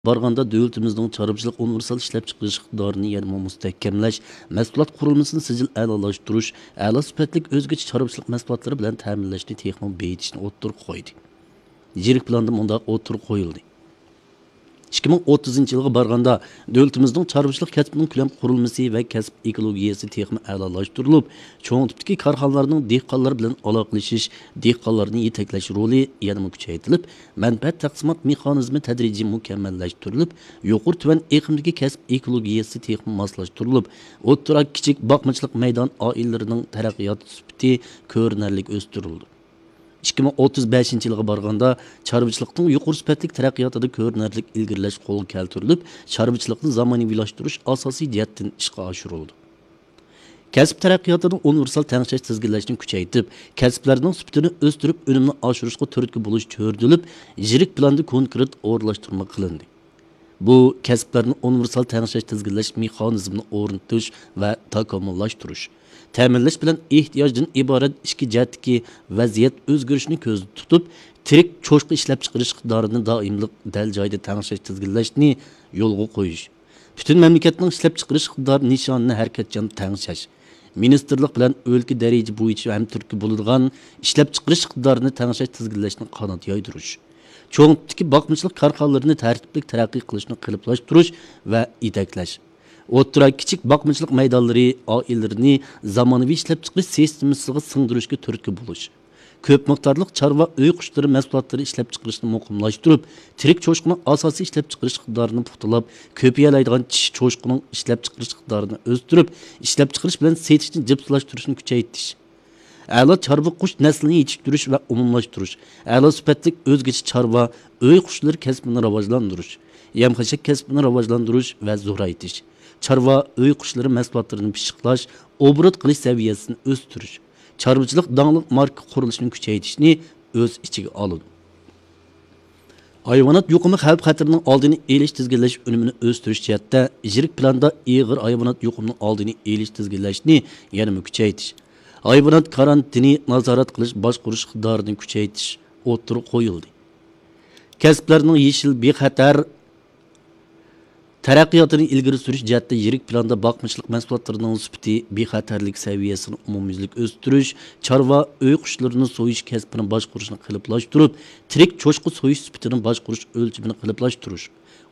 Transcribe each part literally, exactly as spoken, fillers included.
بارغاندا، دۆلىتىمىزنىڭ چارۋىچىلىق ئۇنىۋېرسال ئىشلەپچىقىرىش ئىقتىدارىنى يەنىمۇ مۇستەھكەملەش، مەھسۇلات قۇرۇلمىسىنى سىجىل ئەلالاشتۇرۇش، ئەلا سۈپەتلىك ئۆزگىچە چارۋىچىلىق مەھسۇلاتلىرى بىلەن تەمىنلەشنى تېخىمۇ بېيىتىشنى ئوتتۇرىغا قويدى. يىرىك پىلاندا مۇنداق ئوتتۇرىغا قويۇلدى. ئىككى مىڭ ئوتتۇزىنچى يىلغا بارغاندا، دۆلىتىمىزنىڭ چارۋىچىلىق كەسپىنىڭ كۆلەم قۇرۇلمىسى ۋە كەسىپ ئېكولوگىيەسى تېخىمۇ ئەلالاشتۇرۇلۇپ، چوڭ تىپتىكى كارخانىلارنىڭ دېھقانلار بىلەن ئالاقىلىشىش، دېھقانلارنى يېتەكلەش رولى يەنىمۇ كۈچەيتىلىپ، مەنپەئەت تەقسىمات مېخانىزمى تەدرىجىي مۇكەممەللەشتۈرۈلۈپ، يۇقىرى تۆۋەن ئېقىمدىكى كەسىپ ئېكولوگىيەسى تېخىمۇ ماسلاشتۇرۇلۇپ، ئوتتۇرا كىچىك باقمىچىلىق مەيدان ئائىلىلىرىنىڭ تەرەققىيات سۈپىتى كۆرۈنەرلىك ئۆستۈرۈلدى. ئىككى مىڭ ئوتتۇز بەشىنچى يىلغا بارغاندا، چارۋىچىلىقنىڭ يۇقىرى سۈپەتلىك تەرەققىياتىدا كۆرۈنەرلىك ئىلگىرىلەش قولغا كەلتۈرۈلۈپ، چارۋىچىلىقنى زامانىۋىلاشتۇرۇش ئاساسىي جەھەتتىن ئىشقا ئاشۇرۇلىدۇ. كەسىپ تەرەققىياتىدا ئۇنىۋېرسال تەڭشەش تىزگىنلەشنى كۈچەيتىپ، كەسىپلەرنىڭ سۈپىتىنى ئۆستۈرۈپ، ئۈنۈمنى ئاشۇرۇشقا تۈرتكە بولۇش چۆرىدىلىپ، يىرىك پىلاندا كونكرېت ئورۇنلاشتۇرما قىلىندى. بۇ كەسىپلەرنى ئۇنىۋېرسال تەڭشەش تىزگىنلەش مېخانىزمىنى ئورنىتىش ۋە تاكامۇللاشتۇرۇش، تەمىنلەش بىلەن ئېھتىياجدىن ئىبارەت ئىككى جەھەتتىكى ۋەزىيەت ئۆزگىرىشىنى كۆزدە تۇتۇپ، تىرىك چوشقا ئىشلەپچىقىرىش ئىقتىدارىنى دائىملىق دەل جايىدا تەڭشەش تىزگىنلەشنى يولغا قويۇش، پۈتۈن مەملىكەتنىڭ ئىشلەپچىقىرىش ئىقتىدارى نىشانىنى ھەرىكەتچان تەڭشەش، مىنىستىرلىق بىلەن ئۆلكە دەرىجە بويىچە ھەمتۈرتكە بولىدىغان ئىشلەپچىقىرىش ئىقتىدارىنى تەڭشەش تىزگىنلەشنى قانات يايدۇرۇش، چوڭ تىپتىكى باقمىچىلىق كارخانىلىرىنى تەرتىپلىك تەرەققىي قىلىشنى قېلىپلاشتۇرۇش ۋە يېتەكلەش، ئوتتۇرا، كىچىك باقمىچىلىق مەيدانلىرى ئائىلىلىرىنى زامانىۋى ئىشلەپچىقىرىش سىستېمىسىغا سىڭدۈرۈشكە تۈرتكە بولۇش، كۆپ مىقدارلىق چارۋا ئۆي قۇشلىرى مەھسۇلاتلىرى ئىشلەپچىقىرىشنى مۇقىملاشتۇرۇپ، تىرىك چوشقىنىڭ ئاساسىي ئىشلەپچىقىرىش ئىقتىدارىنى پۇختىلاپ، كۆپىيەلەيدىغان چىشى چوشقىنىڭ ئىشلەپچىقىرىش ئىقتىدارىنى ئۆستۈرۈپ، ئىشلەپچىقىرىش بىلەن سېتىشنى جىپسىلاشتۇرۇشنى كۈچەيتىش، ئەلا چارۋا قۇش نەسلىنى يېتىشتۈرۈش ۋە ئومۇملاشتۇرۇش، ئەلا سۈپەتلىك ئۆزگىچە چارۋا ئۆي قۇشلىرى كەسپىنى راۋاجلاندۇرۇش، يەم-خەشەك كەسپىنى راۋاجلاندۇرۇش ۋە زورايتىش، چارۋا ئۆي قۇشلىرى مەھسۇلاتلىرىنى پىششىقلاش، ئوبوروت قىلىش سەۋىيەسىنى ئۆستۈرۈش، چارۋىچىلىق داڭلىق ماركا قۇرۇلۇشىنى كۈچەيتىشنى ئۆز ئىچىگە ئالىدۇ. ھايۋانات يۇقۇمى خەۋپ-خەتىرىنىڭ ئالدىنى ئېلىش، تىزگىنلەش، ئۈنۈمىنى ئۆستۈرۈش جەھەتتە يىرىك پىلاندا ئېغىر ھايۋانات يۇقۇمىنىڭ ئالدىنى ئېلىش، تىزگىنلەشنى يەنىمۇ كۈچەيتىش، ھايۋانات كارانتىنى نازارەت قىلىش، باشقۇرۇش ئىقتىدارىنى كۈچەيتىش ئوتتۇرىغا قويۇلدى. كەسىپلەرنىڭ يېشىل، بىخەتەر، تەرەققىياتىنى ئىلگىرى سۈرۈش جەھەتتە يىرىك پىلاندا باقمىچىلىق مەھسۇلاتلىرىنىڭ سۈپىتى، بىخەتەرلىك سەۋىيەسىنى ئومۇميۈزلۈك ئۆستۈرۈش، چارۋا ئۆي قۇشلىرىنى سويۇش كەسپىنى باشقۇرۇشنى قېلىپلاشتۇرۇپ، تىرىك چوشقا سويۇش سۈپىتىنى باشقۇرۇش ئۆلچىمىنى قېلىپلاشتۇرۇش،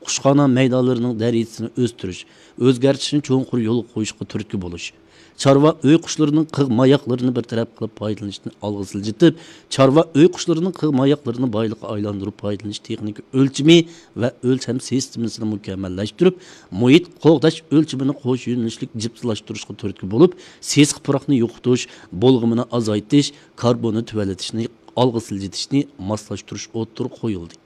قۇشخانا مەيدانلىرىنىڭ دەرىجىسىنى ئۆستۈرۈش، ئۆزگەرتىشنى چوڭقۇر يولغا قويۇشقا تۈرتكە بولۇش، چارۋا ئۆي قۇشلىرىنىڭ قىغ ماياقلىرىنى بىر تەرەپ قىلىپ پايدىلىنىشنى ئالغا سىلجىتىپ، چارۋا ئۆي قۇشلىرىنىڭ قىغ ماياقلىرىنى بايلىققا ئايلاندۇرۇپ پايدىلىنىش تېخنىكا ئۆلچىمى ۋە ئۆلچەم سىستېمىسىنى مۇكەممەللەشتۈرۈپ، مۇھىت قوغداش ئۆلچىمىنى قوش يۆنىلىشلىك جىپسىلاشتۇرۇشقا تۈرتكە بولۇپ، سېسىق پۇراقنى يوقىتىش، بۇلغىمىنى ئازايتىش، كاربوننى تۆۋەنلىتىشنى ئالغا سىلجىتىشنى ماسلاشتۇرۇش ئوتتۇرىغا قويۇلدى.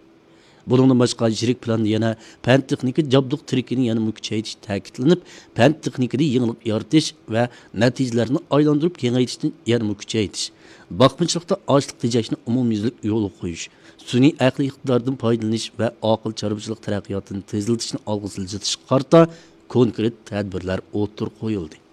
بۇنىڭدىن باشقا، يىرىك پىلاندا يەنە پەن-تېخنىكا جابدۇق تىرىكىنى يەنىمۇ كۈچەيتىش تەكىتلىنىپ، پەن-تېخنىكىدا يېڭىلىق يارىتىش ۋە نەتىجىلەرنى ئايلاندۇرۇپ كېڭەيتىشنى يەنىمۇ كۈچەيتىش، باقمىچىلىقتا ئاشلىق تېجەشنى ئومۇميۈزلۈك يولغا قويۇش، سۈنئىي ئەقلىي ئىقتىداردىن پايدىلىنىش ۋە ئاقىل چارۋىچىلىق تەرەققىياتىنى تېزلىتىشنى ئالغا سىلجىتىشقا قارىتا كونكرېت تەدبىرلەر ئوتتۇرىغا قويۇلدى.